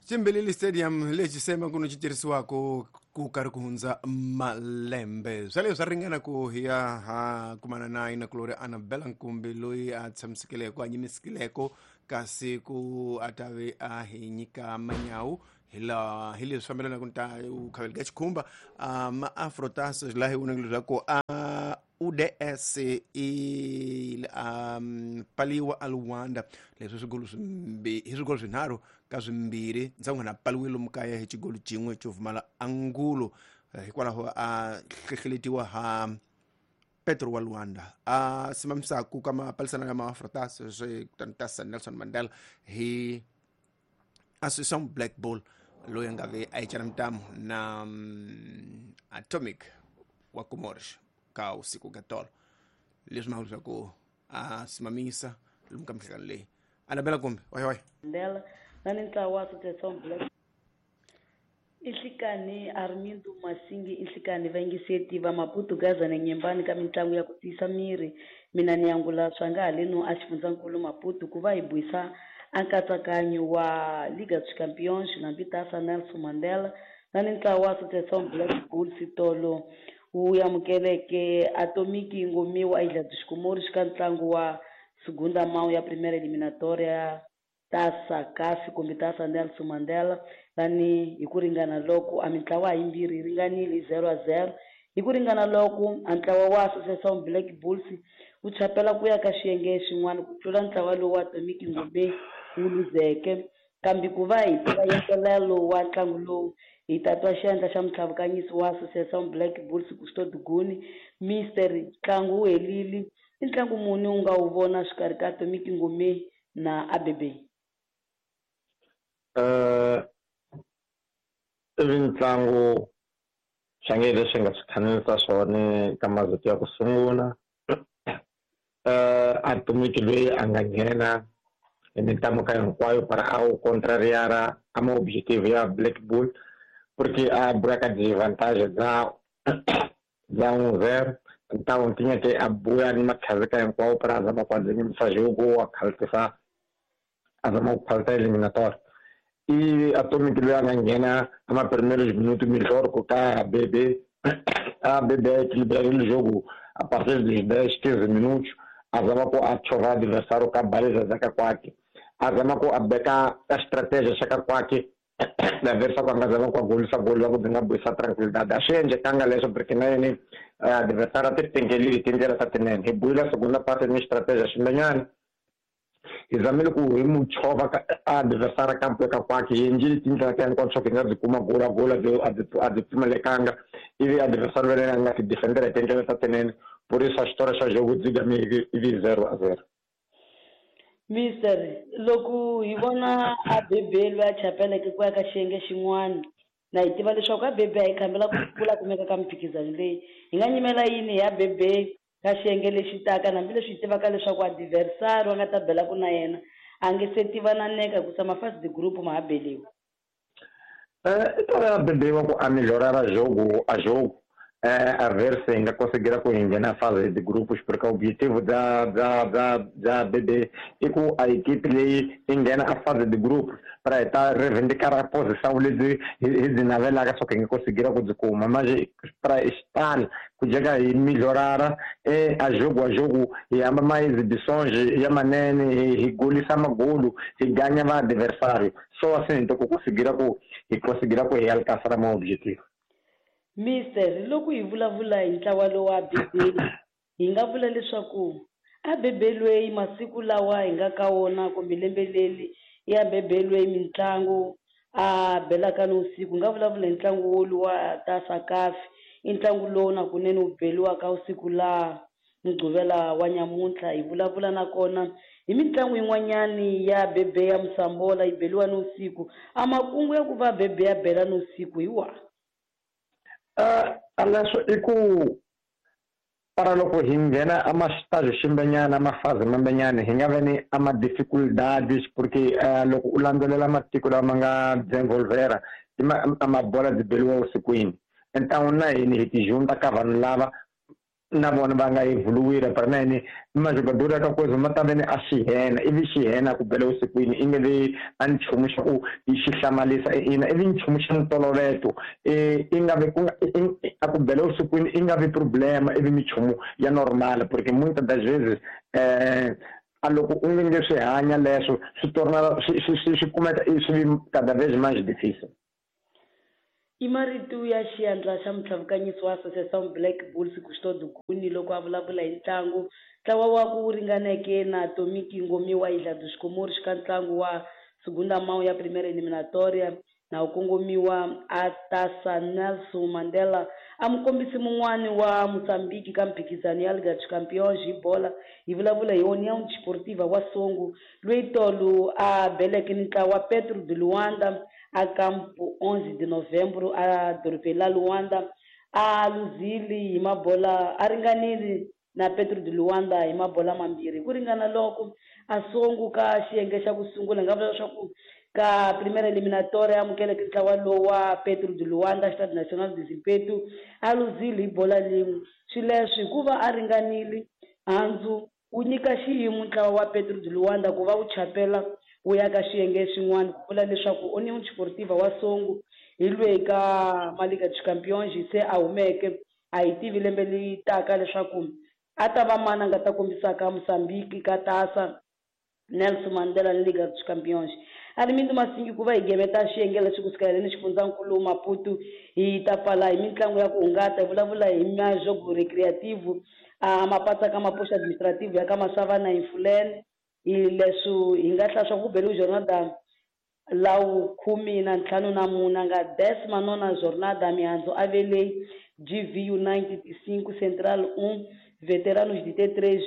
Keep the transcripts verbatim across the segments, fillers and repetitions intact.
Chimbilili Stadium lexi sema ku no xi tirhisiwako ku karhi ku hundza malembe swa leswi swa ringana ku hi ya ha kumana na inakulori Annabella Nkumbi loyi a tshamisekileko a nyimisekileko kasi ku a ta ve a hi nyika manyawu hi laha hi leswi fambelanaka ni ta u khaveli ka xikhumba ma afrotas laha hi vonaka leswaku a U D S i um, paliwa a Luanda leswi swigolo swimbi hi swigolo swinharhu ka swimbirhi ndzhaku na paliwe lomu kaya hi xigolo xin'we xo pfumala angulo hikwalaho a hlehleletiwa ha Petro wa Luanda a simamisaku ka mapalisana ya maafrotas swi tantasa Nelson Mandela hi Association Black Bull loyi a nga ve a yi cana mitamu na um, Atomic wa Comores ka usiku ka tolo leswi ma leswaku a simamisa lomu ka minhlangano leyi Annabella kumbe oy oy Mandela na ni ntlawa wa Association Black Inhlikani Armindo Masingi inhlikani vayingiseti va Maputo Gaza na Nyembani ka mitlangu ya ku tiyisa miri mina ni angula swa nga haleno a xifundzankulu Maputo ku va hi buisa a nkatsakanyo wa Liga dos Campeões na Mbitasa Nelson Mandela na ni ntlawa wa Association Black Bulls tolo wu amukeleke Atomic Ngomiwa Ilha dos Comores ka ntlangu wa segunda mão ya primeira eliminatória Taça C A F kumbe Taça Nelson Mandela lani hi ku ringana loko a mintlawa yimbirhi yi ringanile zero a zero hi ku ringana loko a ntlawa wa Association Black Bulls wu chapela ku ya ka xiyenge xin'wana ku tlula ntlawa lowu wa Atomic Ngome wu luzeke kambe ku va hi tiva yentelelo wa ntlangu lowu hi ta twa xiyandla xa mutlhavukanyisi wa Association Black Bulls Gusto Duguni Mister ntlangu wu helile i ntlangu muni u nga wu vona xikarhi ka Atomic Ngome na A B B? Eh ntlangu swange leswi nga swi khanisa swona ka mazito ya ku sungula eh Atomic loyi a nga nghena hi mintlamo ka hinkwayo para a wu contrariara a ma objective ya Black Bull porque a buya ka disadvantage bya bya un zero então tinha que a buya ni makhazika hinkwawo para a zama ku adzimisa jogo a khaltisa a zama ku khalta eliminatório e Atomic loyi a nga nghena a ma primeiros minutos melhor ku ka A B B A B B equilibrarile jogo a partir dos dez quinze minutos a zama ku a chova adversário ka baliza zaka kwake a zama ku a beka a estratégia xaka kwake na versa ku a nga zama ku a golisa golo la ku byi nga buyisa tranquilidade a swi endlekanga leswo porque na yini adversário a ti tengelile tindlela ta tinene hi buyile segunda parte ni estratégia ximbenyana hi zamile ku hi mu chova ka adversário kampo ka kwake hi endlile tindlela ta hinkwato swa ku hi nga byi kuma gola gola byi a byi a byi pfumalekanga ivi adversário va yena a nga ti defendera hi tindlela ta tinene por isso a história xa jogo dzigame ivi zero a zero. Mister loko hi vona A B B loyi a chapeleke ku ya ka xiyenge xin'wana na hi tiva leswaku A B B a yi khambela ku kula kumeka ka mimphikizano leyi hi nga nyimela yini hi A B B ka xiyenge lexi taka hambileswi hi tivaka leswaku adversário a nga ta belaku na yena a nge se tiva na neka ku tshama fasi de group ma ha beliwa. Eh i ta A B B wa ku a melhorara jogo a jogo eh a ver se nga conseguir ku nghena fase de grupos porque o objetivo da da da da B B i ku a equipe leyi yi nghena a fase de grupos para ta reivindicar a posição lebyi hi byi navelaka swa ku hi nga conseguir ku byi kuma mas para estar ku jeka hi melhorara eh a jogo a jogo hi hamba ma exibições ya manene hi golisa magolo hi ganha va adversário só assim então ku conseguir ku hi conseguir ku hi alcançar o objetivo. Mister loko hi vulavula hi ntlawa lowu wa A B B hi nga vula leswaku A B B loyi masiku lawa hi nga ka wona kumbe lembe leri i A B B loyi mitlangu a belaka ni usiku hi nga vulavula hi ntlangu wolu wa Taça C A F i ntlangu lowu na kunene wu beliwaka usiku laha Mugqivela wa nyamuntlha hi vulavula nakona hi mitlangu yin'wanyani ya B B ya Musambola yi beliwa ni usiku a makungu ya ku va B B ya bela ni usiku hi wahi? Uh, leswo i ku para loko hi nghena a ma-estágio ximbenyana a ma-fase mambenyana hi nga ve ni a ma-dificuldades porque uh, loko u landzelela matiko lama nga desenvolvera i ma a mabola byi beliwa vusikwini então na hini hi ti junta ka vanhu lava na vona va nga evoluir para mene majogador ka coisa ma ta vene a xihena ivi xihena ku bela usikwini i nge vi a nchumu xa ku xi hlamalisa ina ivi nchumu xa ntoloveto i nga vi ku a ku bela usikwini i nga vi problema ivi minchumu ya normal porque muitas das vezes eh a loko u nge swi hanya leswo swi torna swi swi swi kumeka swi vi cada vez mais difícil. I marito ya xiandla xa mutlhavukanyisi wa Associação Black Bulls Custódio Guni loko a vulavula hi ntlangu ntlawa wa ku ringaneke na Atomic Ngomiwa Ilha dos Comores ka ntlangu wa segunda mão ya primeira eliminatória na wu kongomiwa a Taça Nelson Mandela a mukombisi mun'wani wa Mozambique ka mphikizano ya Liga dos Campeões hi bola hi vulavula hi União Desportiva wa Songo loyi tolo a beleke ni ntlawa Petro de Luanda a campo onze de novembro a dorobeni la Luanda a luzile hi mabola a ringanile na Petro de Luanda hi mabola mambirhi ku ringana loko a Songo ka xiyenge xa ku sungula nga vula leswaku ka primeira eliminatória amukeleke ntlawa lowu wa Petro de Luanda Stade Nacional de Zimpeto a luzile hi bola lin'we swileswi hikuva a ringanile handzu wu nyika xiyimo ntlawa wa Petro de Luanda ku va wu chapela wu ya ka xiyenge xin'wana ku vula leswaku União Desportiva wa Songo hi lweyi ka Liga dos Campeões se a humeke a hi tivi lembe leri taka leswaku a ta va mani a nga ta kombisaka Mozambique ka Taça Nelson Mandela ni Liga dos Campeões. Armindo Masingi ku va hi gemeta xiyenge lexi kusuka heleni xifundzankulu Maputo hi ta pfala hi mitlangu ya ku hungata hi vulavula hi majogo recreativo a mapatsa ka mapoxa administrativo ya ka Masavana hi Mfuleni hi leswi hi nga hlaya swa ku beliwe jornada lawu khume na ntlhanu na mune nga décima nona jornada mihandzu a ve leyi G V United cinco Central um Veteranos de T três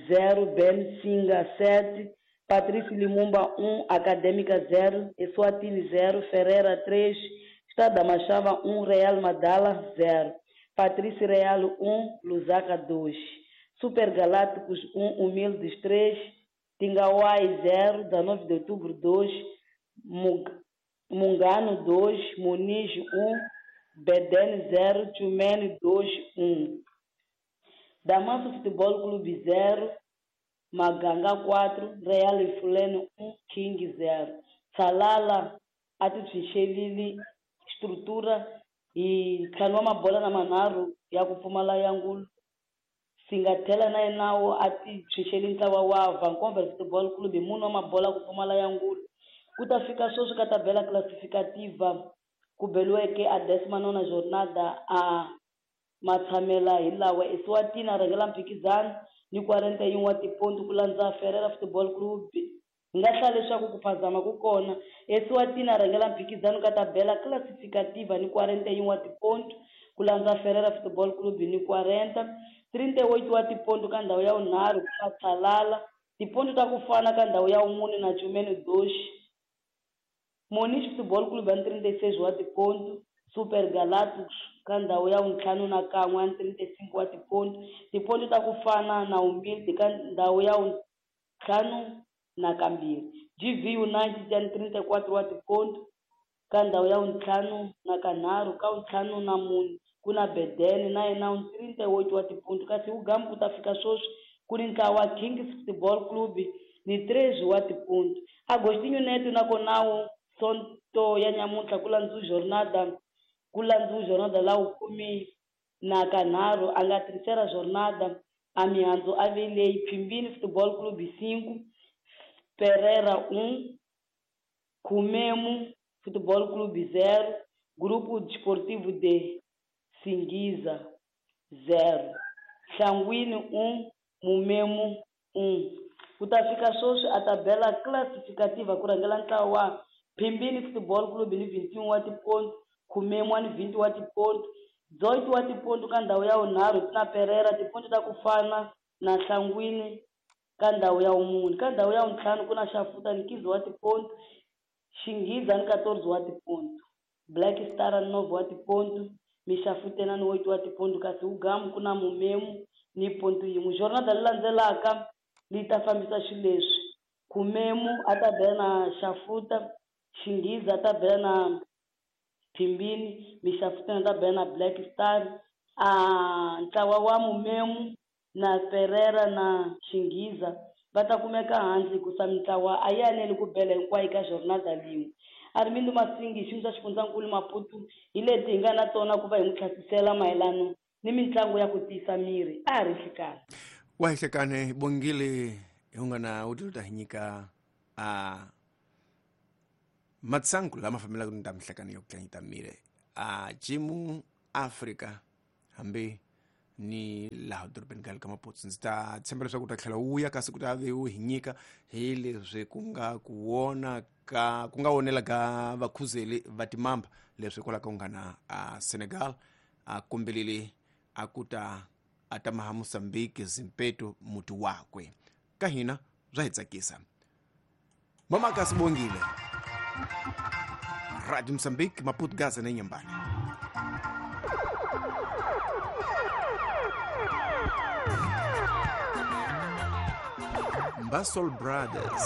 zero Ben Singa sete Patrício Limumba um Acadêmica zero Eswatini zero Ferreira três Estado da Machava um Real Madala zero Patrício Real um Lusaka dois Super Galácticos um Humildes três Tingawai zero dezenove de outubro dois Mungano dois Muniz um Bedene zero Tchumene dois um Damanso Futebol Clube zero Maganga quatro Real Fuleno um King zero Salala atitshixelile estrutura hi ntlhanu wa mabola na manharhu ya ku pfumala ya ngulu Singathela na yenawo a ti tshunxeli ntlawa wa Vancouver Football Club hi mune wa mabola ku pfumala ya ngulu ku ta fika sweswi ka tabela classificativa ku beliweke a décima nona jornada a matshamela hi lawa Eswatini a rhangela mphikizano ni quarenta e um wa tipontu ku landza Ferreira Football Club hi nga hlaya leswaku ku phazama ku kona Eswatini a rhangela mphikizano ka tabela classificativa ni quarenta e um wa tipontu ku landza Ferreira Football Club ni quarenta trinta e oito wa tipontu ka ndhawu ya vunharhu ku nga Tsalala tipontu ta ku fana ka ndhawu ya vumune na Tchumene dois Moniz Football Club ya trinta e seis wa tipontu Super Galácticos ka ndhawu ya vuntlhanu na kan'we ya trinta e cinco wa tipontu tipontu ta ku fana na Humilde ka ndhawu ya vuntlhanu na kambirhi G V United ya trinta e quatro wa tipontu ka ndhawu ya vuntlhanu na kanharhu ka vuntlhanu na mune ku na Bedene na yena trinta e oito wa tipontu kasi Ugamu ku ta fika sweswi ku ni ntlawa wa Kings Football Club ni treze wa tipontu Agostinho Neto nakona wu Sonto ya nyamuntlha ku landzu jornada ku landzu jornada la khume na kanharhu a nga terceira jornada a mihandzu a ve leyi Phimbini Football Club cinco Pereira um Kumemo Futebol Clube zero Grupo Desportivo de Singiza zero Sanguíneo um Mumemo um Ku ta fika sweswi a tabela classificativa ku rhangela ntlawa wa Phimbini Football Club ni vinte e um wa tipontu Kumemo ni vinte wa tipontu dezoito wa tipontu ka ndhawu ya vunharhu ku na Pereira tipontu ta ku fana na Nhlangwini ka ndhawu ya vumune ka ndhawu ya vuntlhanu ku na Xafuta ni quinze wa tipontu Xinghiza ni quatorze wa tipontu Black Star ni nove wa tipontu Mixafutena ni oito wa tipontu kasi Ugamu ku na Mumemu ni pontu yin'we jornada leyi landzelaka leyi ta fambisa xileswi Kumemu a ta bela na Xafuta Xinghiza a ta bela na Phimbini Mixafutena a ta bela na Black Star A ntlawa wa Mumemu na Pereira na Xinghiza va ta kumeka hansi hikusa mintlawa a yi aneli ku bela hinkwayo ka jornada lin'we. Armindo Masingi hi xiyimo xa xifundzankulu Maputo hi leti hi nga na tona ku va hi n'wi tlhasisela mayelano ni mitlangu ya ku tiyisa miri a ha ri nhlikani. Wa hi hlekane Bongile hi nga na u ta hi nyika a matsangu lama fambelaka ni ta mihlekano ya ku tlangita miri a jimu Afrika hambi ni laha dorobeni ka le ka Maputo. Ndzi ta tshemba leswaku u ta tlhela wu ya kasi ku ta ve wu hi nyika hi leswi ku nga ku wona ka ku nga wonela ka vakhuzeli va timamba leswi hikwalaho ka ku nga na a Senegal a kombelele a ku ta a ta maha Mozambique Zimpeto muti wakwe ka hina bya hi tsakisa. Mama kasi Bongile, Radio Mozambique, Maputo, Gaza na Inhambane. Basol Brothers.